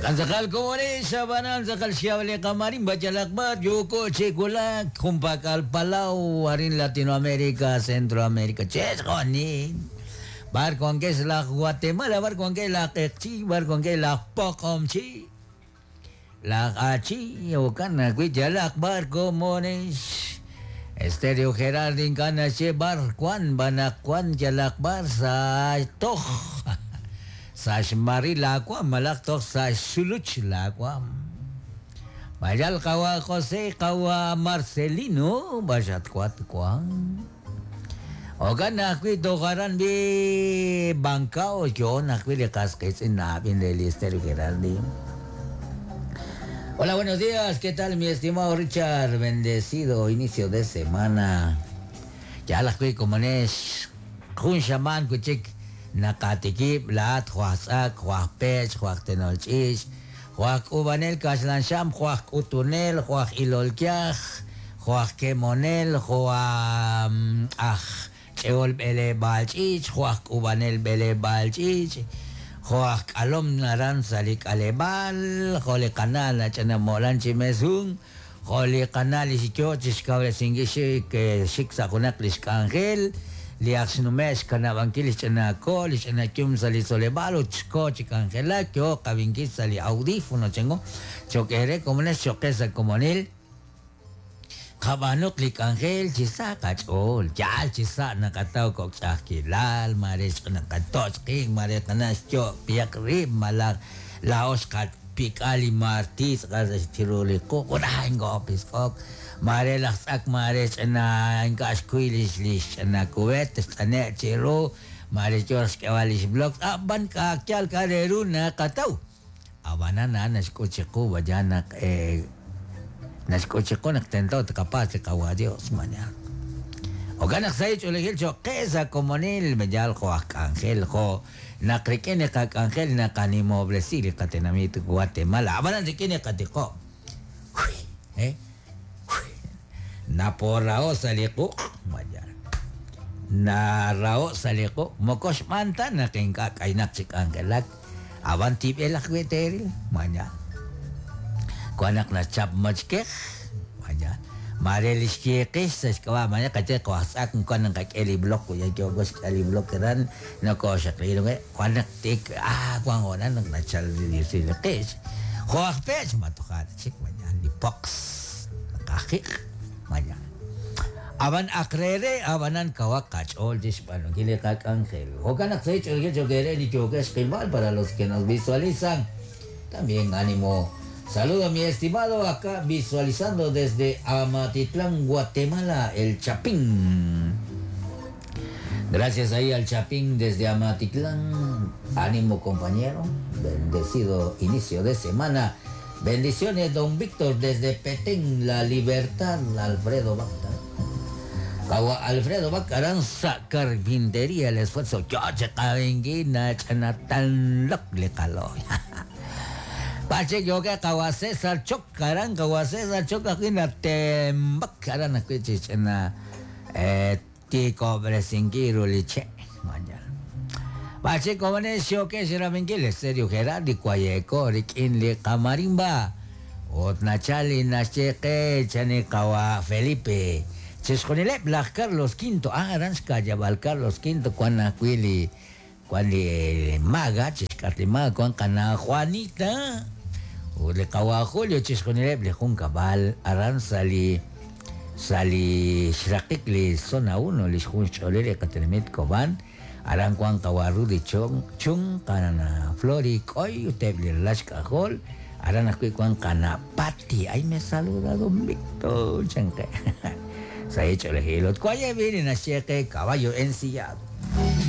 Kantzakal komore xabanan tzakal xiable kamarin bachalakbar yoko chekulak jumpakal palau arin Latinoamérica Centroamérica chesjonin bar con que es la Guatemala bar con que la Quechí bar con que la Pocomchi la Achi okana cuichalak bar comones Estéreo Gerardin kana che bar Juan banak Juan yalak bar sa toj Saxmari lakwam malak toj saxuluch lakwam. Mayal kawa José kawa Marcelino basat kuat kuang. Ogan nakwi tokaran bi bangkao yo nakwi le casquetsin nabin del Estéreo Gerardi. Hola, buenos días. ¿Qué tal, mi estimado Richard? Bendecido inicio de semana. Ya la kui como es jun shaman kuchik nakatikip lahat huasak huapech huaktenolchich huak ubanel kaslansham huak utunel huak ilolkiaj huak kemonel huak aj cheol bele balchich huak ubanel bele balchich huak alom naran salik alebal jole kanal chanamolan chimesun jole kanal isikyo chishkable singishi que shiksakunak lishkangel liaxnumex kanabankil ixch'anako lixch'anakyum sa li tzoleb'al ut xko chi k'anjelak yo qabinkil sa li audífono chengo choq'ere komones choqe sa komonil qab'anuq li k'anjel chi sa qach'ool yaal chi sa naqataw kok ch'ajkilal mare xq'naqatoch qin mare qanax yo piyaq rib malaj laox qapik'al li martis qas chiru li quq uraj ingo pisk'ok mare laj tz'ak mare ch'ana ink'a' xkuy lix lix ch'ana cubet xt'ane' chiru mare yo xk'eb'al lix blog ab'an k'akyal k'areru naqataw ab'anan na naxk'ut chiqu vaya naq naxk'ut chiqu naq tento tqapas li qawa Dios mañana Okan naq sa ch'oolejil choqe sa komonil meyal jo aj k'anjel jo naq rik'in li qak'anjel naqanimobresi li qatenamit Guatemala ab'anan rik'in li qatiqo Naporrao sa li quq mañana narao sa li quq mokox manta naq ink'a' k'aynaq chi k'anjelak ab'an tib'el ajwi' teeril mañana Cuando nachap machkej mañana mare lix kiqix sa xk'ab'a mañana qache qwajtz'ak cuando qak'e li blog ya yo xk'e li blog ran no xaqlilu cuando tik cuando honan naq nachal li qix joajpech matojar chik mañana li pox qajiq mañana Aban akrere abanan kawak kachol jishbano kili kak ángel. Hokanak se chogere ni chokesh para los que nos visualizan. También ánimo. Saludo a mi estimado acá visualizando desde Amatitlán, Guatemala, el Chapín. Gracias ahí al Chapín desde Amatitlán. Ánimo compañero. Bendecido inicio de semana. Bendiciones don Víctor desde Petén, La Libertad, Alfredo Bacta. Kawa Alfredo Bacaran sa carpintería el esfuerzo. Yo chakabenguina chanatanlok le kaloy. Pache yo que kawa César Choc karan kawa César Choc aquí na tembak karan aquí chichena tiko bresingiru liche mañana. Pache como ne que será benguil serio Gerardi cuayeco rikin li kamarimba. Otnachali nacheque chani kawa Felipe. Chesjonilep laj Carlos V. Aranska yabal Carlos V cuando cuili cuando maga chescatli maga cuan kana Juanita. O le kawa Julio chesjonilep le jun cabal aran sali sali xraqik li zona 1 li jun cholele katenemit koban aran cuan kawa Rudy chong chung kana Flori koy utep li lashka hol aran akui cuan kana Pati. Ay me saluda don Víctor chanque. Se ha hecho el gilo. Cuaya viene caballo ensillado.